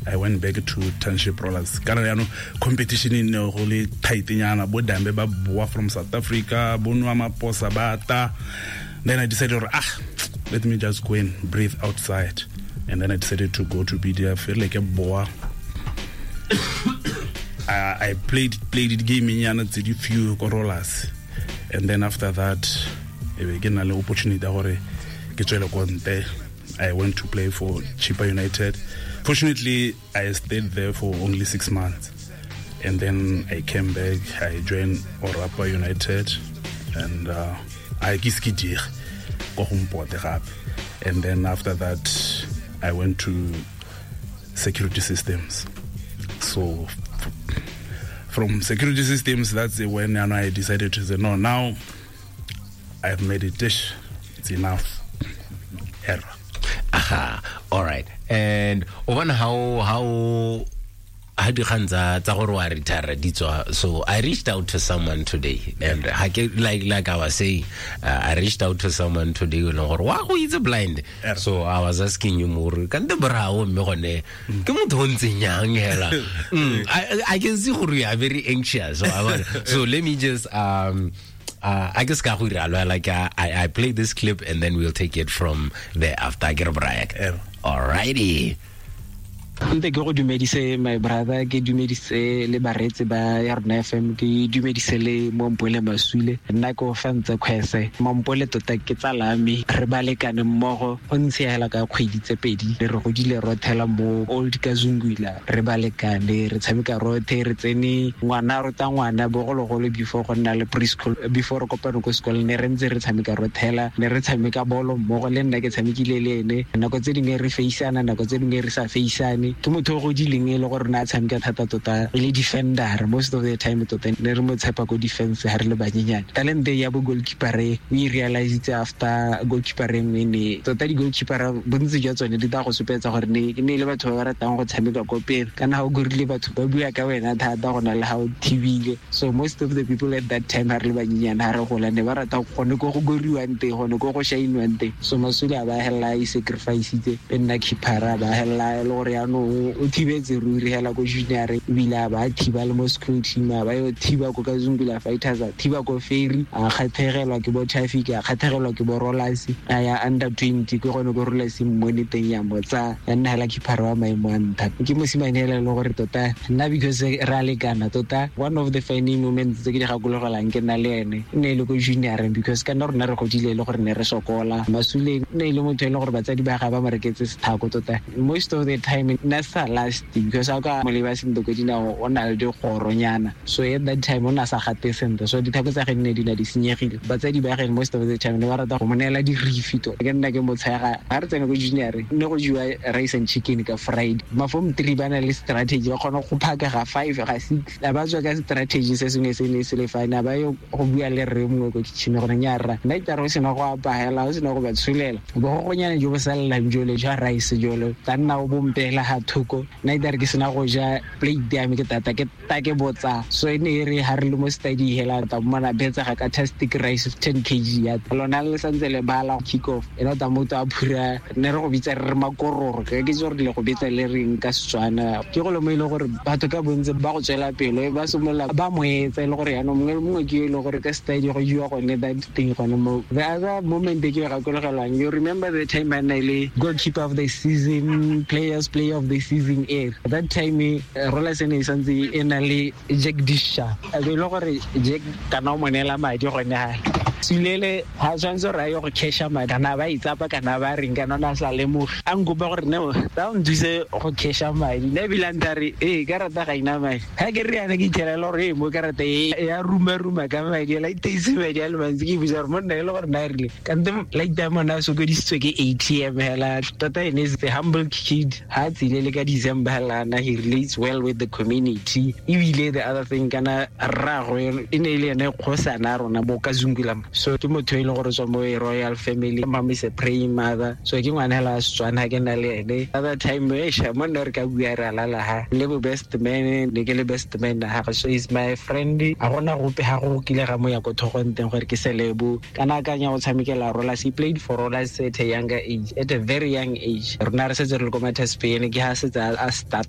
I went back to Township Rollers. Kana yaanong competition e ne go le tight nyana, bo Dambe ba boa from South Africa, bo Nwa Maposa ba ta. Then I decided, let me just go and breathe outside. And then I decided to go to BDF. Like a boa. I played it game nyana tse di few ko Rollers. And then after that, e be ke na le opportunity ya gore ke tswele ko ntle. I went to play for Chippa United. Fortunately, I stayed there for only 6 months. And then I came back, I joined Orapa United, and I ke se ke diege ko go mpote gape. And then after that, I went to Security Systems. So from Security Systems, that's when I decided to say, no, now I've made a dish. It's enough. Error. Aha. All right. And one how dikgang tsa gore wa retire di tswa. So I reached out to someone today, and like I was saying, I reached out to someone today o leng gore wa go itse blind. So I was asking you more, kante brao mme gone ke motho o ntseng yang hela. I can see gore you are very anxious. So so let me just I guess ka go ira like I play this clip and then we'll take it from there after ke re Brian. All righty. Nte ke go dumedise my brother, ke dumedise le bareetsi ba ya rona FM, ke dumedise le Mompole Masule. Nna ke o fa ntse kgwese. Mompole tota ke tsala me, re balekane mmogo, go ntse hela ka kgwedi tse pedi, re godile rothela mo Old Kazungula, re balekane, re tshameka rothe, re tsene ngwana rota ngwana bogologolo before go nna le preschool, before re kopane ko sekolo, ne re ntse re tshameka rothela, ne re tshameka bolo mmogo, le nna ke tshamekile le ene. Nako tse dingwe re feisana, nako tse dingwe re sa feisane. Ke motho o godileng e le gore na tshameka thata tota e le defender most of the time, tota ne re mo tshepa ko defense ha re le banyenyane. Talente ya bo goalkeeper e o e realizitse after goalkeeper e nngwe ne tota di-goalkeeper bontsi jwa tsone di tla go supetsa gore ne e le batho ba ba ratang go tshameka ko pele, kana ha o gorile batho ba bua ka wena thata go na le ha o thibile. So most of the people at that time ha re le banyenyane ha re gola ne ba rata gone ko go goriwang teng, gone ko go shainwang teng. So Masule a ba hella e sacrifice-itse e nna keeper, a ba hella e le gore yaanong o thibetse ruri hela ko junior, ebile a ba thiba le mo school team, a ba yo thiba ko Kazungula Fighters, a thiba ko Ferry, a kgathegelwa ke bo Traffic, a kgathegelwa ke bo Rollers, a ya under 20 ke gone ko Rollers mmone teng ya mo tsa ya nna hela keeper wa maemo a ntlha. Ke mosimane hela e le gore tota nna because re a lekana tota, one of the funny moments tse ke di gakologelang ke nna le ene e ne e le ko junior, because ka nna rona re godile e le gore ne re sokola. Masule ne e le motho e le gore batsadi ba ga ba mo reketse sethako tota most of the time nna sa last, because a ka mo leba sentle ko dinao o na le dikgoronyana, so at that time o na sa gate sentle, so dithako tsa gagwe ne di na di senyegile. Batsadi ba gagwe most of the time ne ba rata go mo neela dirifi tota. Ke nna ke mo tshega ha re tsena ko junior, ne go jewa rice and chicken ka Friday. Ma form 3 ba na le strategy, ba kgona go phaka ga 5 ga 6, a ba tswa ka strategy se sengwe se ne se le fine, a ba yo go bua le rre mongwe ko kitchen gore nya rra nna itare o sena go apahela, o sena go ba tsholela bogogonyana jo bo sallang jole jwa rice jole, tla nna o bompela ga thoko, nna itare ke sena go ja plate ya me ke tata ke ta ke botsa. So e ne e re ha re le mo study hela ta mmona betsa ga ka tastic rice 10 kg ya lona le santse le bala kick off, ena ta motho a phura, ne re go bitsa re re makororo, ke itse gore le go bitsa le reng ka Setswana. Ke go le mo e leng gore batho ka bontsi ba go tswela pele ba simolola ba mo etsa e le gore yaanong mongwe le mongwe ke yo e leng gore ka study go jewa gone that thing gone mo. The other moment e ke e gakologelwang, you remember the time a nna e le goalkeeper of the season, players player of the season e that time Rollers e ne e santse e na le Jack Disha, a be e le gore Jack kana o mo neela madi gone ha Sulele ha tshwanetse gore a ye go casha madi, kana ba itsapa kana ba reng, kana o ne a sa lemoge. A nkopa gore no, tla o nthuse go casha madi. Nna ebile a ntha re, ee, karata ga ina madi. Ha ke re yana ke itlhela e le gore, ee, mo karata e, ya ruma-ruma ka madi, la iteise madi a le mantsi. Ke ipotsa gore monna e le gore na rile. Kante like that monna a sokodisitswe ke ATM hela. Tota ene is a humble kid. Ha a tsile le ka December hela, na he relates well with the community. Ebile the other thing, kana rraagwe e ne e le ene kgosana ya rona mo Kazungula. So ke motho e leng gore o tswa mo e royal family. Mom is a praying mother. So ke ngwana hela wa Setswana, ha ke na le ene. Other time, eish, monna re ka bua re a lala ha. Le bo best man, ne ke le best man ha gagwe. So he's my friend. Ha gona gope ha go kile ga mo ya ko thogong teng gore ke selebo. Kana akanya go tshamekela Rollers. He played for Rollers at a younger age, at a very young age. Rona re setse re le ko Matterspeen, ke ha setse a starta